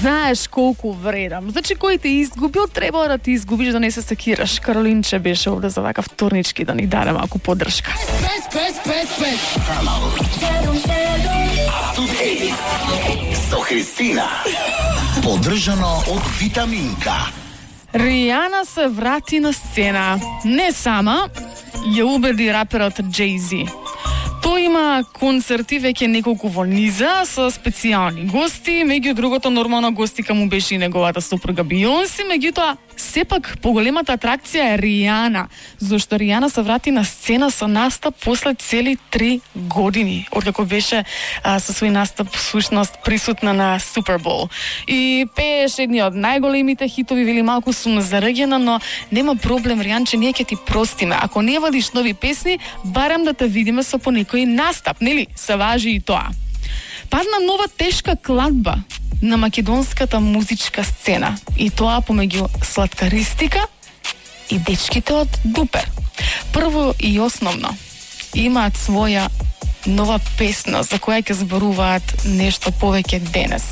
знаеш колку вредам. Значи, кој те изгубил, треба да ти изгубиш, да не се секираш. Каролинче беше овде за вака вторнички да ни даде малку поддршка. Со Христина. Поддржано од Витаминка. Ријана се врати на сцена. Не сама, ја убеди раперот Jay-Z. Тој има концерти веќе неколку во низа со специјални гости, меѓу другото нормално гостика му беше и неговата сопруга Бионси, меѓутоа сепак поголемата атракција е Ријана, зашто Ријана се врати на сцена со настап после цели 3 години, откако беше со свој настап всушност присутна на Супербол. И пееше едни од најголемите хитови, вели малку сум зарегена, но нема проблем, Ријанче, ние ќе ти простиме. Ако не вадиш нови песни, барам да те видиме со по некој настап, нели? Се важи и тоа. Падна нова тешка кладба на македонската музичка сцена, и тоа помеѓу Сладкаристика и дечките од Дупер. Прво и основно, имаат своја нова песна за која ќе зборуваат нешто повеќе денес.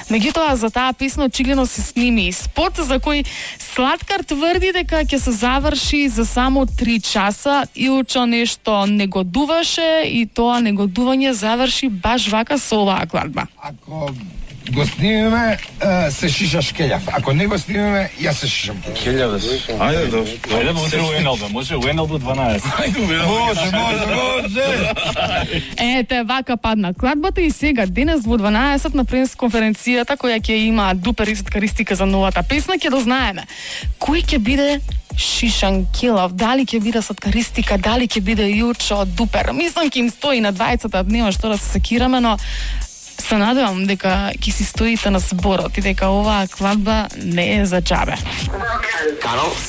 Меѓутоа, за таа песна очигледно се сними и спот за кој Сладкар тврди дека ќе се заврши за само 3 часа. Илчо нешто негодуваше и тоа негодување заврши баш вака со оваа кладба. Ако го снимаме, се шишаш келјав. Ако не го снимаме, јас се шишам келјав. Ајде, добро. Ајде, може УНЛБ, може УНЛБ 12. Може. Ете, вака падна кладбата и сега денес во 12 на пресконференцијата која ќе има Дупер и Сладкаристика за новата песна, ќе дознаеме кој ќе биде шишан келав, дали ќе биде Сладкаристика, дали ќе биде Јучо од Дупер. Мислам ќе им стои на двајцата, нема што да се секираме, но се надевам дека ќе си стоите на зборот и дека оваа кладба не е за џабе. Карол се